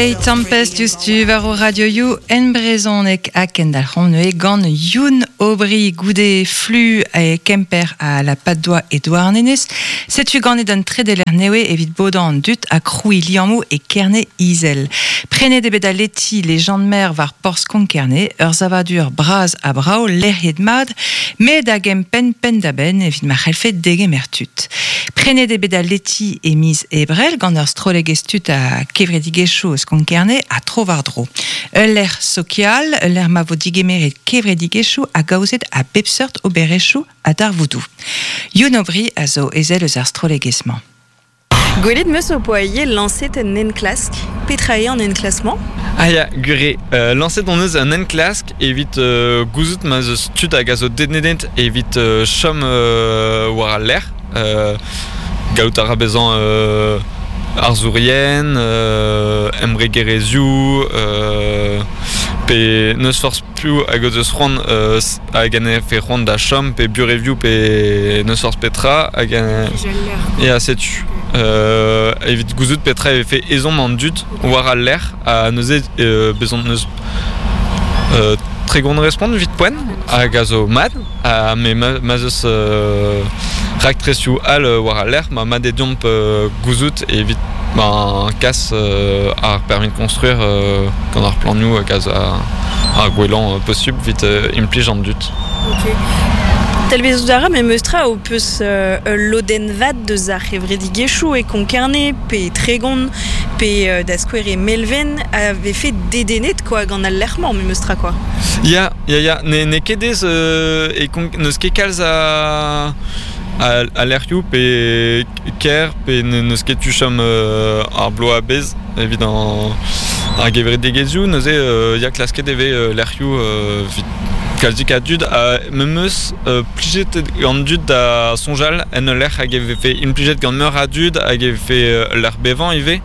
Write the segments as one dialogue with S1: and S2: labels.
S1: Tempest diouzhtu war o radioioù en brezhoneg ha kendalc'homp neuze gant Youn Aubry goude flu e Kemper ha la Patte-d'Oie e Douarnenez. Setu ganet un tredeler nevez evit bodañ an dud ha krouiñ liammoù e Kerne Izel. Prenet eo bet al leti Les gens de mer war porzh Konk-Kerne, ur savadur bras ha brav lec'hiet mat, met da gempenn penn-da-benn evit ma c'hellfe degemer tud. Prenet eo bet al leti e miz Ebrel gant ur strollegezh tud ha kevredigezhioù eus Konk-Kerne ha tro-war-dro. Ul lec'h sokial, ul lec'h ma vo digemeret kevredigezhioù hag aozet a bep seurt oberezhioù ha darvoudoù. Youn Aubry a zo ezel eus ar strollegezh-mañ.
S2: Gwelet 'm eus ho poa ivez lañset un enklask. Petra eo an enklask-mañ?
S3: Ah ya, gwir eo. Lañset hon eus un enklask evit gouzout ma 'z eus tud hag a zo dedennet evit chom war al lec'h. Gallout a ra bezañ arzourien, embregerezhioù, pe n'eus forzh piv hag o deus c'hoant hag en defe c'hoant da chom pe burevioù pe n'eus forzh petra hag ya setu evit gouzout petra e vefe ezhomm an dud war al lec'h ha neuze bezañ n'eus 30 respont evit poent hag a zo mat ha me ma'z eus raktresoù all war al lec'h ma mat eo deomp gouzout evit ben kas ar permis de construire gant ar planioù hag ar gwellañ posubl evit implij an dud.
S2: Ok. Talvezout a ra memes tra ho peus ul lodenn vat deus ar c'hevredigezhioù e Konk-Kerne pe e Tregon pe da skouer e Melven a vefe dedennet quoi gant al lec'h-mañ memes tra quoi.
S3: Ya, ya, ya, n'eo ket aes e Konk n'eus ket kalz a a lec'hioù pe kêr pe n'eus ket tu chom ar bloaz a-bezh evit ar gevredigezhioù neuze ya klasket e vez lec'hioù evit kalzik a dud ha memes plijet an dud da soñjal en ul lec'h hag e vefe implijet gant meur a dud hag e vefe ul lec'h bevañ ivez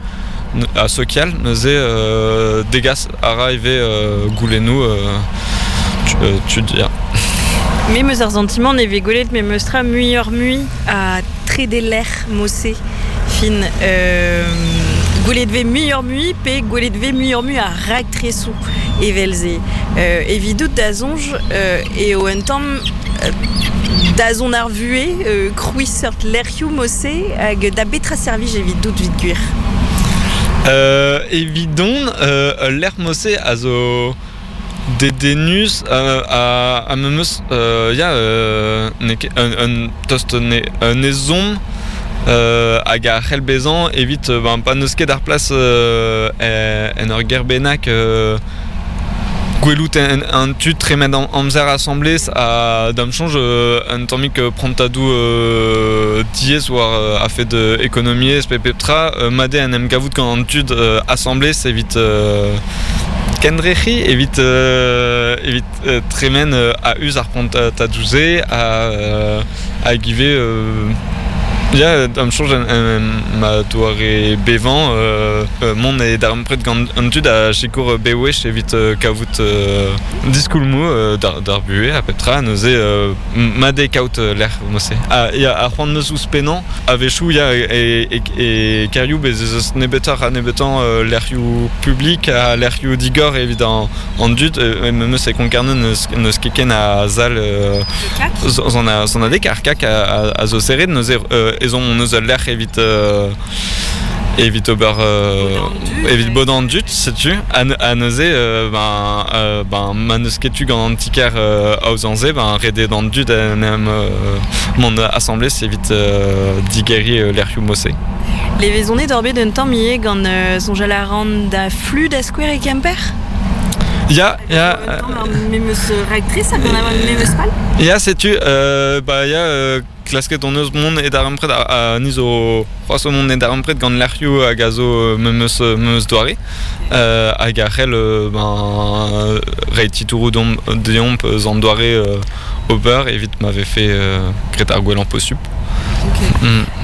S3: ha sokial neuze degas a ra ivez goulennoù tud ya.
S2: Me 'm eus ar santimant e vez gwelet memes tra muioc'h-mui a trede lec'h mod-se. Fin, gwelet 'vez muioc'h-mui pe gwelet 'vez muioc'h-mui a raktresoù evel-se. Evidout da soñj eo un tamm dazont ar vuhez, krouiñ seurt lec'hioù mod-se hag da betra servij evidout evit gwir?
S3: Evidon, ul lec'h mod-se a zo Dedennus ha memes ya n'eo ket un tost un ezhomm hag a c'hell bezañ evit ben pa n'eus ket ar plas en ur gêr bennak gwelout an tu tremen amzer asambles ha da'm soñj un tammig prantadoù diaes war a-fet ekonomiezh pe pep tra mat eo en em gavout gant an tud asambles evit Kendrec'hiñ evit evit tremen a-us ar prantadoù-se hag ivez ya da'm soñj ma doare bevañ mont e darempred gant an dud a sikour bewech evit kavout diskoulmoù d'ar buhez ha pep tra neuze mat eo kaout lec'h mod-se. Ha ya ar c'hoant 'm eus ouzhpennañ a-wechoù ya e kêrioù bez' ez eus nebeutoc'h ha nebeutañ lec'hioù publik ha lec'hioù digor evit an dud memes e Konk-Kerne n'eus ket ken a sal sonadeg ar CAC a zo serret neuze ezhomm hon eus ul lec'h evit evit ober evit bodañ an dud setu ha neuze ben ma n'eus ket tu gant an ti-kêr aozañ-se ben ret eo d'an dud en em mont asambles evit digeriñ lec'hioù mod-se.
S2: Levezonet oc'h bet un tamm ivez gant soñjal a ran da Flu da skouer e Kemper?
S3: Ya, ya.
S2: Memes raktres hag an memes pal?
S3: Ya, setu, bah ya, klasket hon eus mont e darempred ha ni zo c'hoazh o mont e darempred gant lec'hioù hag a zo memes memes doare hag a c'hell ben reiñ titouroù deomp eus an doare ober evit ma vefe graet ar gwellañ posupl.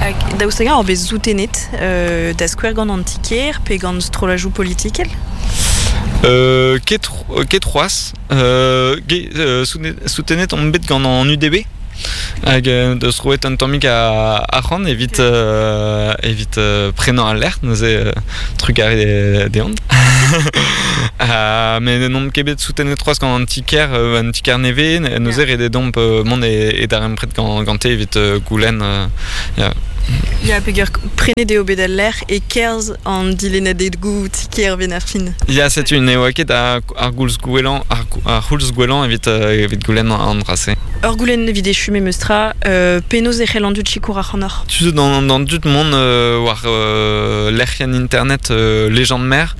S2: Hag daoust hag-eñ oc'h bet soutenet da skouer gant an ti-kêr pe gant strollajoù politikel?
S3: Ket ket c'hoazh. Soutenet on bet gant an UDB. Hag deus roet un tammig a arc'hant evit evit prenañ al lec'h neuze trugarez dezhañ. Met n'omp ket bet soutenet c'hoazh gant an ti-kêr an ti-kêr nevez neuze ret eo deomp mont e darempred gante evit goulenn
S2: ya. Ya, peger prenet eo bet al lec'h e-kerzh an dilennadegoù ti-kêr 'benn ar fin.
S3: Ya, setu ne oa ket ar goulz gwellañ ar c'houlz gwellañ evit evit goulenn an dra-se.
S2: Ur goulenn evit echu memes tra, penaos e c'hell an dud sikour ac'hanoc'h?
S3: Tu zo d'an dud mont war lec'hienn internet Légende Mer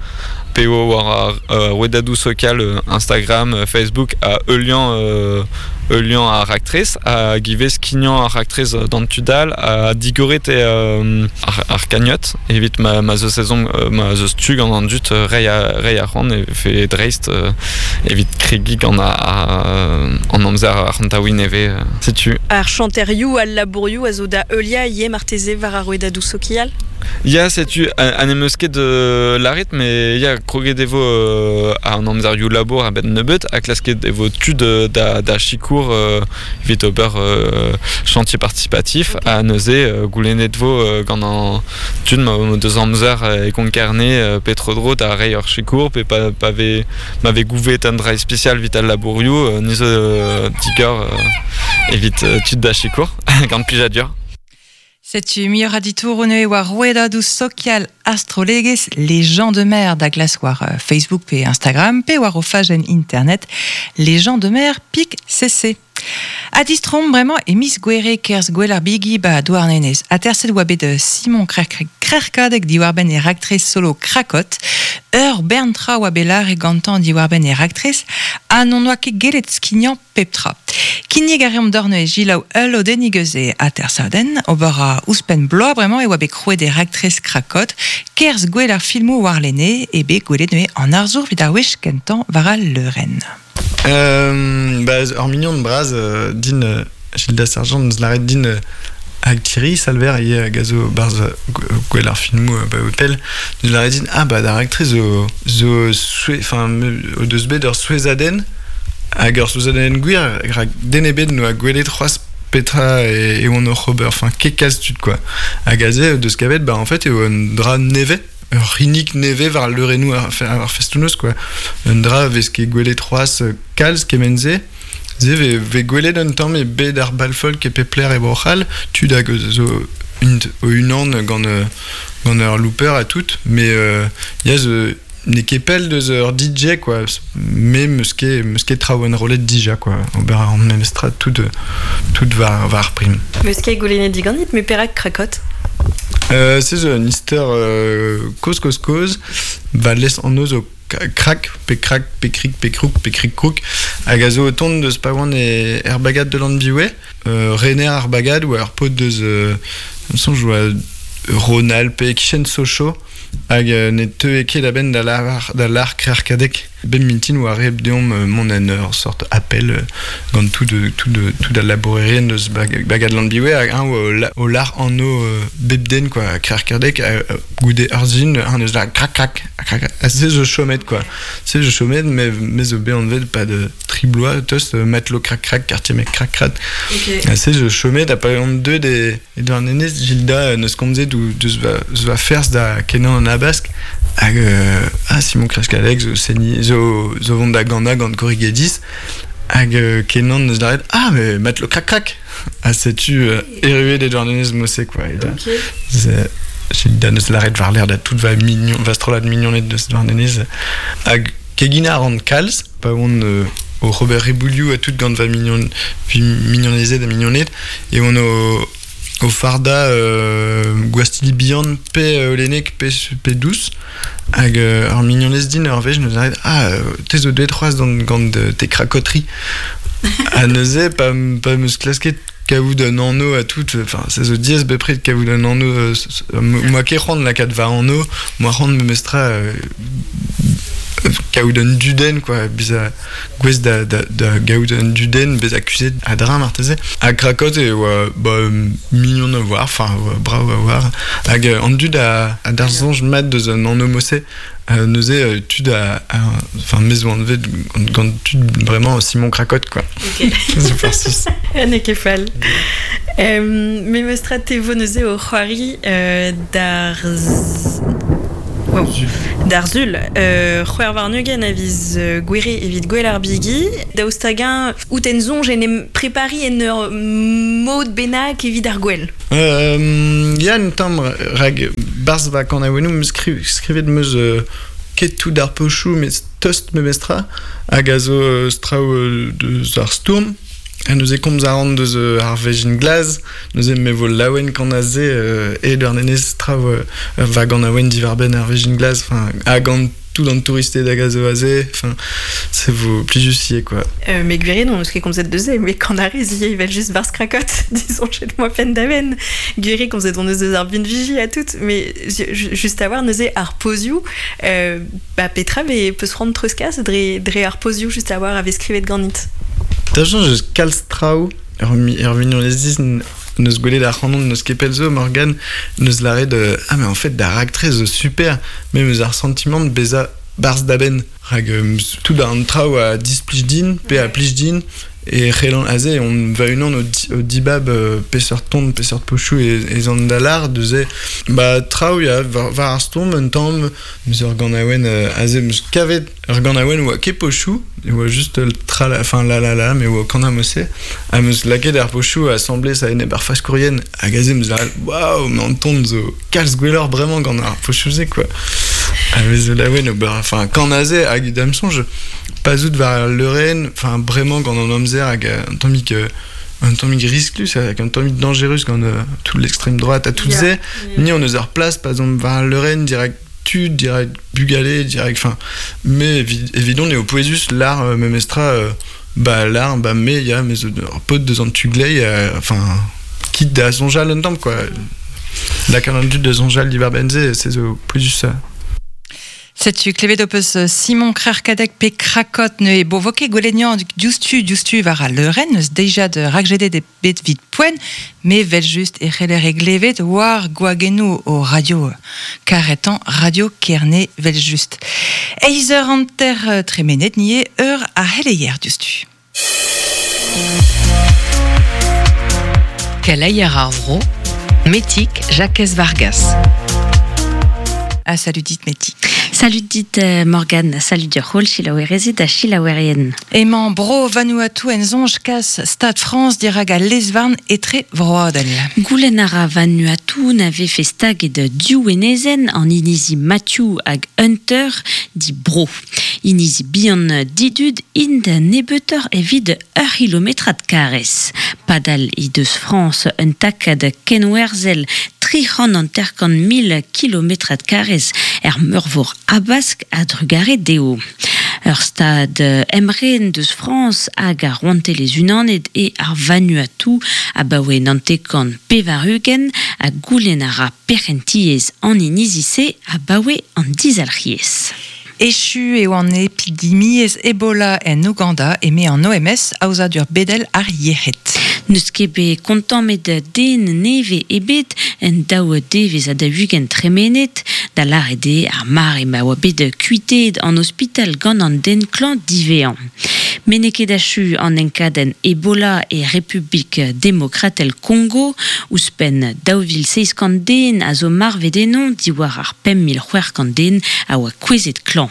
S3: pe war ar rouedadoù sokial Instagram, Facebook ha heuliañ heuliañ ar raktres hag ivez skignañ ar raktres d'an tud all ha digoret eo ar cagnotte evit ma ma 'z eus ezhomm ma 'z eus tu gant an dud reiñ reiñ arc'hant e vefe dreist evit kregiñ gant an amzer arc'hantaouiñ nevez setu.
S2: Ar chanterioù, al labourioù a zo da heuliañ ivez marteze war ar rouedadoù sokial?
S3: Ya, setu, ha n'em eus ket lâret, mais ya, kroget e vo an amzerioù labour a-benn nebeut ha klasket e vo tud da sikour evit ober chantier participatif ha neuze goulennet vo gant an tud ma deus amzer e Konk-Kerne pe tro-dro da reiñ ur sikour pe pa vez ma vez gouvet un dra ispisial evit al labourioù ni zo digor evit tud da sikour gant plijadur.
S1: Setu muioc'h a ditouroù neuze war rouedadoù sokial ar strollegezh Les gens de mer da glask war Facebook pe Instagram pe war o fajenn internet lesgensdemer pik cc. Ha distroomp bremañ e miz Gouere kerzh Gouel ar Bigi ba Douarnenez. Aterset oa bet Simon Krerkadeg diwar-benn e raktres solo Krakot. Ur bern tra oa bet lâret gantañ diwar-benn e raktres ha n'hon oa ket gellet skignañ pep tra. Kinnig a reomp deoc'h neuze selaou ul lodennig eus e atersadenn. Ober a ouzhpenn bloaz bremañ e oa bet krouet e raktres Krakot. Kerzh gwell ar filmoù warlene eo bet gwelet neuze an arzour evit ar wech kentañ war al leurenn.
S4: Bah, ur mignon bras din Gilda Sergent neus lâret din hag Thierry Salver ivez hag a zo barzh gwell ar filmoù ba pell neus lâret din ah bah da raktres zo zo enfin o deus bet ur souezhadenn hag ur souezhadenn gwir rak den ebet n'oa gwelet c'hoazh petra e oant oc'h ober enfin ket kalz tud quoi hag aze o deus kavet bah en fait eo un dra nevez ur c'hinnig nevez war leurennoù ar festoù-noz quoi. Un dra vez ket gwelet c'hoazh kalz kement-se. Se vez, vez gwelet un tamm e bed ar bal folk e pep lec'h e Bro-C'hall, tud hag zo int o-unan gant gant ur looper ha tout, mais ya zo n'eo ket pell deus ur DJ quoi. Me 'meus ket 'meus ket traoù enrollet dija quoi. Ober a ran memestra tout tout war war ar prim.
S2: Meus ket goulennet diganit, mais perak Krakot?
S4: Se zo un istor kozh kozh kozh va les anv zo krak pe krak pe krik pe krouk pe krik krouk hag a zo o tont deus pa oan er bagad de Lanbiouet rener ar bagad oa ur paotr deus soñj oa Ronald pe e-kichen Sochaux hag ne teue ket a-benn da lavar da lâr Krec'hkadeg Bep mintin oa ret deomp mont en ur sort appel gant tout tout tout al labourerien deus bagad Lanbiwe hag eñ o lâr anv bep den quoi Krec'hkadeg goude ur sizhun eñ deus lâret krak krak krak ha se zo chomet quoi se zo chomet me me zo bet anvet 'pad tri bloaz tost matelot krak krak quartier mec krak krak ha se zo chomet ha pa on deuet e E Douarnenez, Gilda n'eus komzet deus va, deus va ferzh da kenañ an Habask hag ah Simon Kreskalek zo seniñ zo zo vont da ganañ gant Korrigedis hag kenan n'eus lâret ah mais matelot krak krak ha setu erruet e Douarnenez mod-se quoi. Okay. Gilda n'eus lâret war-lerc'h da tout va mignon va strollad mignoned deus Douarnenez hag keginañ a ran kalz pa oan oc'h ober reboulioù ha tout gant va mignon mignonezed ha mignoned e oan o fardañ gwastilli bihan pe holenek pe dous hag ur mignonez din ur wech neuze lâret ah te zo deuet c'hoazh gant tes cracoteries ha neuze pa 'm eus klasket kavout un anv ha tout enfin se zo diaes bepred kavout un anv moa ket c'hoant lakaat va anv moa c'hoant memestra. Kaout un dudenn quoi, bezañ gouest da, da, da gaout un dudenn, bezañ kuzhet a-dreñv marteze. Ha Krakot e oa ba, mignon a voir, enfin brav a voir. Hag an dud a, a d'ar soñj mat deus an anv Mosse, neuze tud a, enfin me zo anvet gant tud vraiment Simon Krakot quoi.
S2: Ok.
S4: Zo farcis.
S2: N'eo ket fall. Me meus tra te vo neuze o c'hoari d'ar Wow. D'ar sul, 26 a viz Gouere evit gwel ar bigi. Daoust hag-eñ out en soñj en em prepariñ en ur mod bennak evit ar gwel?
S4: Ya, un tamm, rak barzh va kanaouennoù 'm eus skrivet 'm eus ket tout ar pochoù met tost memestra hag a zo traoù deus ar stourm. Ha neuze komz a ran deus ar vezhin glas, neuze me vo laouen gant aze e Douarnenez traoù va ganaouenn diwar-benn ar vezhin glas, enfin ha gant tout an touristed hag a zo aze, enfin se vo plijus ivez quoi.
S2: Mais gwir eo, n'on eus ket komzet deus se, met gant ar rez ivez evel-just barzh Krakot, disoñjet moa penn-da-benn. Gwir eo komzet hon eus deus ar binviji ha tout, mais just a-walc'h neuze ar pozioù, bah petra vez peus c'hoant treuzkas dre, dre ar pozioù just a-walc'h a vez skrivet ganit?
S4: Da soñj eus kalz traoù, ur vignonez n'eus gwelet ac'hanon n'eus ket pell zo, Morgane, n'eus lâret ah mais en fait da raktres zo super, me 'm eus ar santimant bezañ barzh da benn. Rak tout an traoù a displij din pe a plij din e c'hellan aze on va-unan o dibab peseurt ton, peseurt pochoù ez an da lâr neuze ba traoù ya war ar stourm un tamm 'm eus ur ganaouenn aze 'm eus kavet Ur ganaouenn oa ket pochoù, e oa just tra la, enfin la la la, mais oa kana mosse. Ha 'm eus lakaet ar pochoù asambles a-enep ar faskourien, hag aze 'm eus lâret waouh, mais an ton zo kalz gwelloc'h bremañ gant ar pochoù-se quoi. Ha me zo laouen ober, enfin kan aze hag da'm soñj pa 'z out war al leurenn, enfin bremañ gant an amzer hag un tammig risklus hag un tammig dañjerus gant tout l'extrême droite ha tout se, ni on eus ar plas pa 'z omp war al leurenn dirak tud, dirak bugale, dirak... Enfin, me, evidon eo pouezus lar memestra, ba lar, ba me, ya, me zo ur paotr deus an tu glei, enfin, kit da soñjal un tamm, quoi. Lakaat an dud da soñjal diwar-benn se, se zo pouezus.
S1: Setu klevet ho peus Simon Krerkadeg pe Krakot neuze bo vo ket gwelet diouzhtu diouzhtu war al leurenn eus deiziad rakjedet e bet 'vit poent, me 'vel-just e c'heller e glevet war gwagennoù ho radio karetañ Radio Kerne 'vel-just. Eizh eur hanter tremenet nie eur ar c'heleier diouzhtu.
S5: Keleier ar vro, Metig Jakez Vargas.
S1: Ah, salut dit Metig.
S6: Salut dit Morgane, salut deoc'h holl selaouerezed ha selaouerien.
S1: Emañ Bro Vanuatu en soñj kas Stad Frañs dirak al lez-varn etrevroadel.
S6: Goulenn a ra Vanuatu na vefe staget div enezenn, an inizi Matthew hag Hunter, di bro. Inizi bihan didud int nebeutoc'h evit ur c'hilometrad karrez. Padal he deus Frañs un takad kenwerzhel 350 000 kilometrad karrez er meurvor Habask a-drugarez dezho. Ur stad emren deus Frañs hag ar Rouantelezh-Unanet eo ar Vanuatu abaoe 99 80 ha goulenn a ra perc'hentiezh an inizi-se abaoe an dizalc'hiezh.
S1: Echu eo an epidemiezh Ebola en Ouganda eme an OMS, aozadur bedel ar yec'hed.
S6: N'eus ket bet kontammet den nevez ebet en daou devezh ha 40 tremenet, da lâret eo ar mare ma oa bet kuiteet an ospital gant an den klañv diwezhañ. Met n'eo ket achu an enkadenn Ebola e Republik Demokratel Kongo. Ouzhpenn 2700 den a zo marvet eno diwar ar 5600 den a oa kouezhet klañv.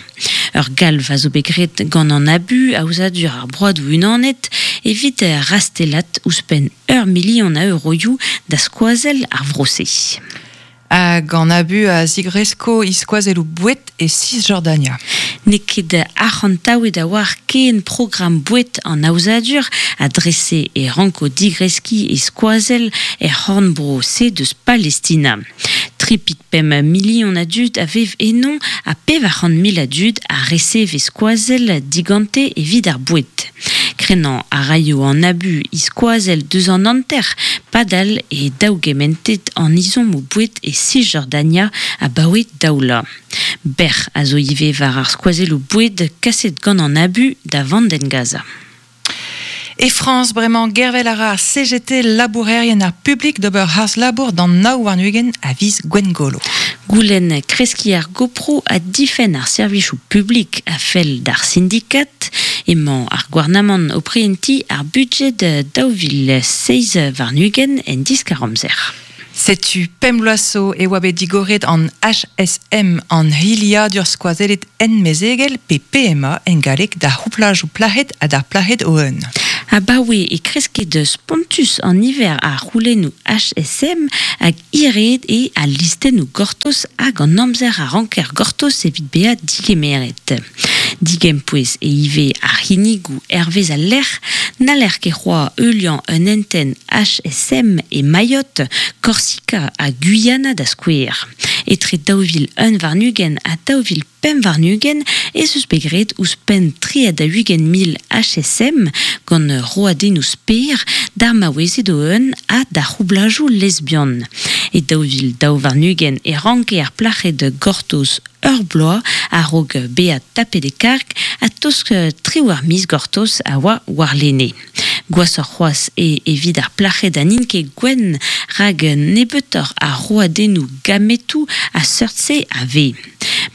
S6: Ur galv a zo bet graet gant an ABU, aozadur ar Broadoù Unanet, evit rastellat ouzhpenn ur milion a euroioù da skoazell ar vro-se.
S1: Hag an ABU a zigresko he skoazelloù boued e Cisjordania.
S6: N'eo ket arc'hantaouet a-walc'h ken programm boued an aozadur ha dre-se e ranko digreskiñ e skoazell er c'horn-bro-se deus Palestina. 3.5 milion a dud a vev eno ha 400 mil a dud a reseve skoazell digante evit ar boued. Krennañ a raio an ABU he skoazell deus an hanter padal eo daougementet an ezhommoù boued e Sisjordania abaoe daou vloaz. Bec'h a zo ivez war ar skoazelloù boued kaset gant an ABU da Vandenn Gaza.
S1: E Frañs bremañ, gervel a ra ar CGT labourerien ar publik d'ober harz-labour d'an 29 a viz Gwengolo.
S6: Goulenn kreskiñ ar goproù ha difenn ar servijoù publik a fell d'ar sindikad. Emañ ar gouarnamant o prientiñ ar budjed 2027 en diskar-amzer.
S1: Setu pemp bloaz zo e oa bet digoret an HSM, an hiliadur skoazellet ent-mezegel, pe PMA en galleg, d'ar c'houplajoù plac'hed ha d'ar plac'hed o-un.
S6: Abaoe e kresket spontus an niver a c'houlennoù HSM hag hiraet eo al listennoù gortoz hag an amzer a ranker gortoz evit bezañ digemeret. Digempouez eo ivez ar c'hinnigoù hervez al lec'h, n'haller ket c'hoazh heuliañ un hentenn HSM e Mayotte, Korsika ha Guyana da skouer. Etre 2021 ha 2025 ez eus bet graet ouzhpenn 43,000 HSM gant roadennoù sper d'ar maouezed o-un ha d'ar c'houblajoù lesbian. E 2022 e ranke ar plac'hed gortoz ur bloaz a-raok bezañ tapet e karg ha tost triwec'h miz gortoz a oa warlene. Gwashoc'h c'hoazh eo evit ar plac'hed ha n'int ket gwenn rak nebeutoc'h a roadennoù gametoù a seurt-se a vez.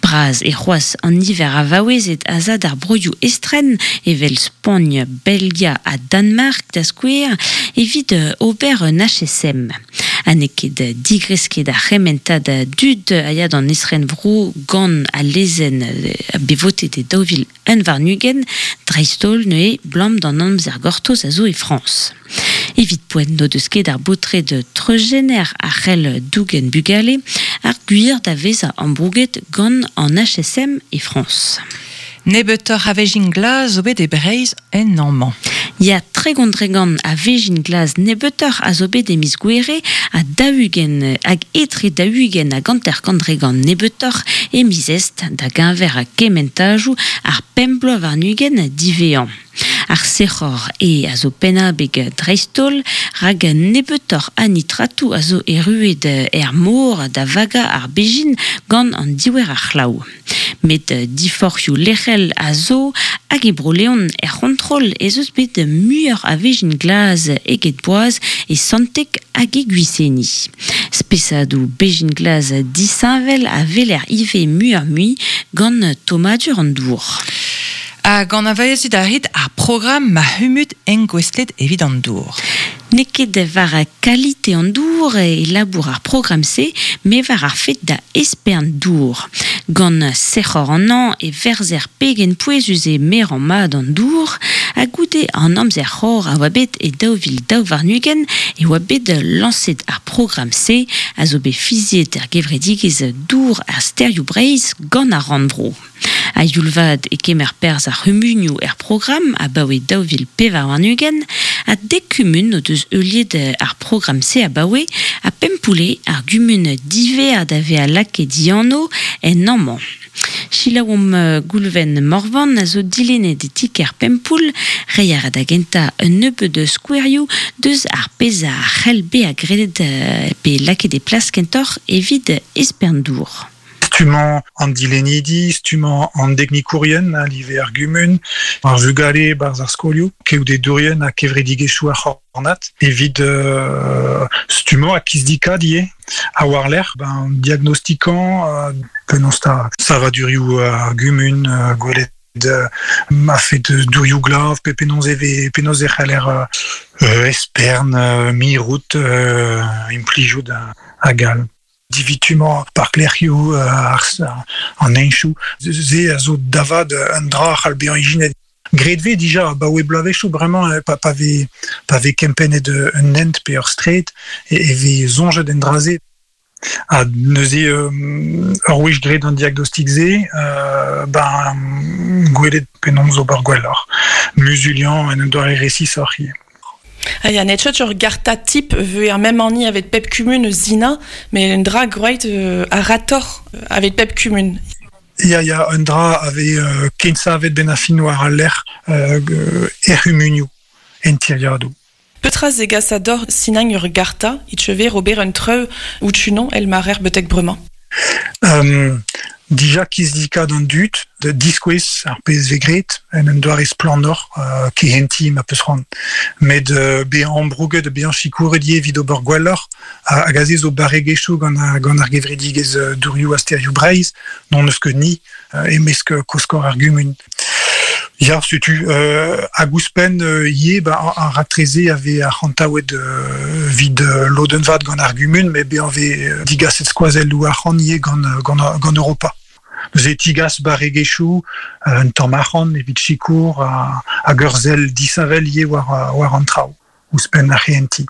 S6: Bras eo c'hoazh an niver a vaouezed a za d'ar broioù estren evel Spagn, Belgia ha Danmark da skouer evit ober un HSM. Ha n'eo ket digresket ar c'hementad a dud a ya d'an estrenvro gant al lezenn bet votet e 2021, dreist-holl neuze 'blam d'an amzer gortoz a zo e Frañs. Evit poent n'o deus ket ar baotred treuzjener a c'hell dougen bugale ar gwir da vezañ ambrouget gant an HSM e Frañs.
S1: Nebeutoc'h a vezhin glas zo bet e Breizh en hañv-mañ.
S6: Ya, 30% a vezhin glas nebeutoc'h a zo bet e miz Gouere ha 40 hag etre 40 hag 50% nebeutoc'h e miz Est da geñver kementajoù ar pemp bloaz warn-ugent diwezhañ. Ar sec'hor eo a zo pennabeg dreist-holl rak nebeutoc'h a nitratoù a zo erruet er mor da vagañ ar bezhin gant an diouer a c'hlav. Met diforc'hioù lec'hel a zo hag e Bro-Leon er c'hontrol ez eus bet muioc'h a vezhin glas eget boaz e Santeg hag e Gwiseni. Spesadoù bezhin glas disheñvel a weler ivez muioc'h-mui gant tommadur an dour.
S1: Hag anavezit a rit ar programm Ma c'humud engouestlet evit an dour?
S6: N'eo ket war kalite an dour e labour ar programm-se, met war ar fed da espern dour. Gant sec'hor an hañv e verzer pegen pouezus eo merañ mat an dour, ha goude an amzer c'hor a oa bet e 2022 e oa bet lañset ar programm-se, a zo bet fiziet er gevredigezh Dour ha Stêrioù Breizh gant ar Rannvro. A-youl vat e kemer perzh ar c'humunioù er programm abaoe 2024 ha dek kumun o deus heuliet ar programm-se abaoe ha Pempoull eo ar gumun diwezhañ da vezañ lakaet dianv en amañ. Selaouomp Goulven Morvan a zo dilennet e ti-kêr Pempoull. Reiñ a ra da gentañ un nebeud skouerioù deus ar pezh a c'hell bezañ graet pe lakaet e plas kentoc'h evit espern dour.
S7: Stummañ an dilennidi, stummañ an deknikourien a live ar gumun, ar vugale e-barzh ar skolioù, keodedourien ha kevredigezhioù ar c'hornad evit stummañ ha kizdikaat ivez. Ha war-lerc'h, ben, diagnostikañ penaos 'ta savadurioù ar gumun, gwelet a-fet dourioù glav pe penaos e vez penaos e c'haller espern, mirout, implijout hag all. Divitumañ parklec'hioù an heñchoù, se a zo da vat un dra a c'hall bezañ ijinet. Graet vez dija abaoe bloavezhioù bremañ pa vez pa vez kempennet un hent pe ur straed e vez soñjet en dra-se. Ha neuze ur wech graet an diagnostik-se, ben gwelet penaos ober gwelloc'h, muzuliañ en un doare resisoc'h ivez.
S8: Ah ya, n'eo ket ur garta tip veu ar mem hani evet pep kumun eus Sina, met un dra groeit a-ratoc'h evet pep kumun.
S7: Ya, ya, un dra a vez kensavet ben a fin war al lec'h er c'humunioù, en tiriadoù.
S8: Petra zegas a dor sinañ ur garta e cheve ober un treu ou tunon el marer betek bremañ?
S7: Dija kizidikat an dud, da diskouez ar pezh vez graet, en un doare splannoc'h, kehentiñ ma peus c'hoant. Met bezañ ambrouget ha bezañ sikouret ivez evit ober gwelloc'h, hag aze zo barregezhioù gant ar, gant ar gevredigezh Dourioù ha Stêrioù Breizh, n'hon eus ket ni e-mesk koskor ar gumun. Ya, setu, hag ouzhpenn ivez, ba, ar raktres-se a vez arc'hantaouet evit lodenn vat gant ar gumun, met bezañ vez digaset skoazelloù arc'hant ivez gant, gant, gant Europa. Neuze e tigas barregezhioù, un tamm arc'hant evit sikour hag ur sell disheñvel ivez war, war an traoù, ouzhpenn ar c'hehentiñ.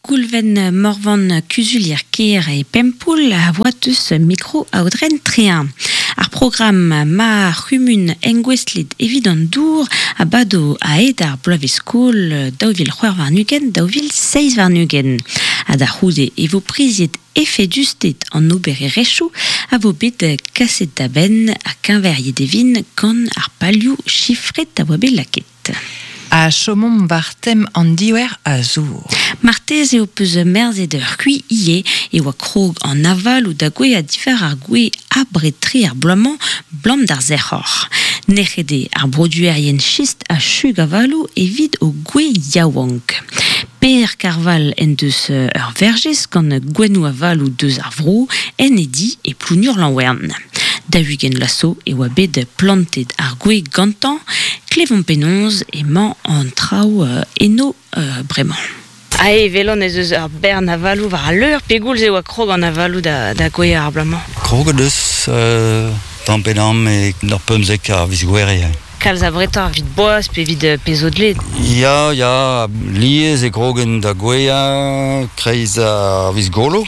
S6: Goulven Morvan kuzulier kêr e Pempoull a oa deus mikro Aodren Trehin. Ar programm Ma c'humun engouestlet evit an dour a bado a-hed ar bloavezh-skol 2026 2027. Ha da c'houde e vo priziet efedusted an obererezhioù a vo bet kaset da benn ha keñveriet e vint gant ar palioù chifret a oa bet lakaet.
S1: Ha chomomp war tem an diouer a zour.
S6: Marteze ho peus merzet c'hwi ivez e oa krog an avaloù da gouezhañ diwar ar gwez abred-tre ar bloaz-mañ 'blam d'ar sec'hor. Nec'het eo ar broduerien chist ha chug avaloù evit o gwez yaouank. Per Karval en deus ur verjez gant gouennoù avaloù deus ar vro en e di e Plougnour-Lanwern. 40 vloaz zo e oa bet plantet ar gwez gantañ. Klevomp penaos emañ an traoù eno bremañ.
S2: Ae 'welan ez eus ur bern avaloù war al leur. Pegoulz e oa krog an avaloù da gouezhañ ar bloaz-mañ?
S9: Kroget eus tamm pe damm e ur 15 a viz Gouere.
S2: Kalz abretoc'h evit boaz pe evit pezh zo dleet?
S9: Ya, ya, lies e krogen da gouezhañ kreiz ar viz Golo,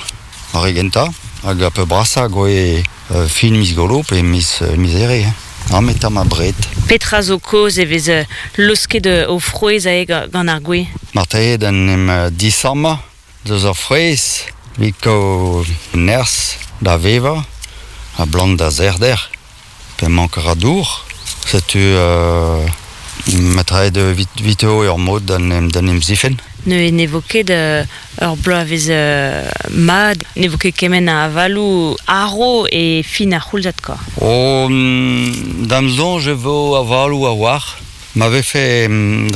S9: ar re gentañ, hag ar peurbrasañ gouez fin miz Golo pe miz, miz Here. Ha me tamm abred.
S2: Petra zo kaoz e vez laosket o frouezh aze gant ar gwez?
S9: Marteze d'en em disammañ deus ar frouezh evit kaout nerzh da vevañ ha blant da sec'hder. Pe mank a ra dour. Setu ma evit evito ur mod d'en em zifenn.
S2: Neuze ne vo ket ur bloavezh mat, ne vo ket kement a avaloù arv e fin ar c'houlzad kwa.
S9: Oh, d'am soñj e vo avaloù a-walc'h. Ma vefe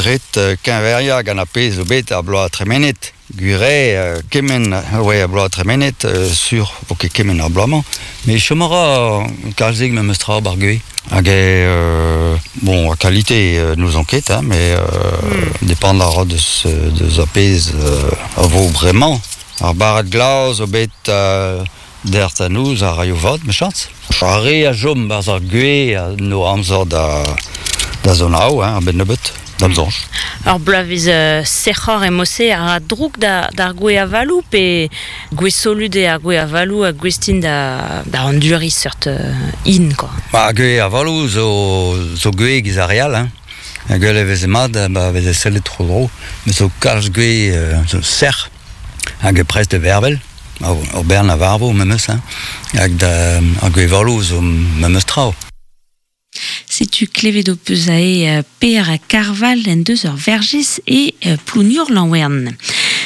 S9: ret keñveriañ gant ar pezh zo bet ar bloaz tremenet, gwir eo kement oa ar bloaz tremenet, sur vo ket kement ar bloaz-mañ, met chom a ra kalzik memes tra 'bar gwez. Hag eo, bon, a qualité n'ouzon ket, hein, mais depend a ra deus, deus ar pezh a vo bremañ. Ar barrad glav zo bet dec'h da noz a raio vat, mechañs. Ar re a chom 'barzh ar gwez a no amzer da, da zonaou, hein, a-benn nebeut, d'am soñj.
S2: Ur bloavezh sec'hoc'h emañ-se a ra droug d'ar gwez avaloù pe Gwez solut eo ar gwez avaloù ha gouest int da anduriñ seurt hin kwa.
S9: Ba gwez avaloù zo zo gwez giz ar re all hein. Gwell e veze mat ba veze sellet tro-dro. Met zo kalz gwez zo sec'h hag prest da vervel. Ur bern a varvo memes hein. Hag da ar gwez avaloù zo memes tra.
S6: Setu klevet ho peus aze Per Karval en deus ur verjez e Plougnour-Lanwern.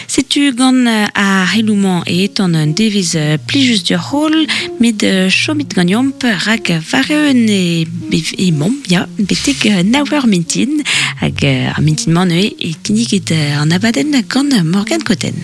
S6: Setu gant ar c'heloù-mañ e etan un devezh plijus deoc'h holl, met chomit ganeomp rak war-eeun emaomp ya, betek nav eur mintin. Hag ar mintin-mañ neuze e kinniget an abadenn gant Morgane Cotten.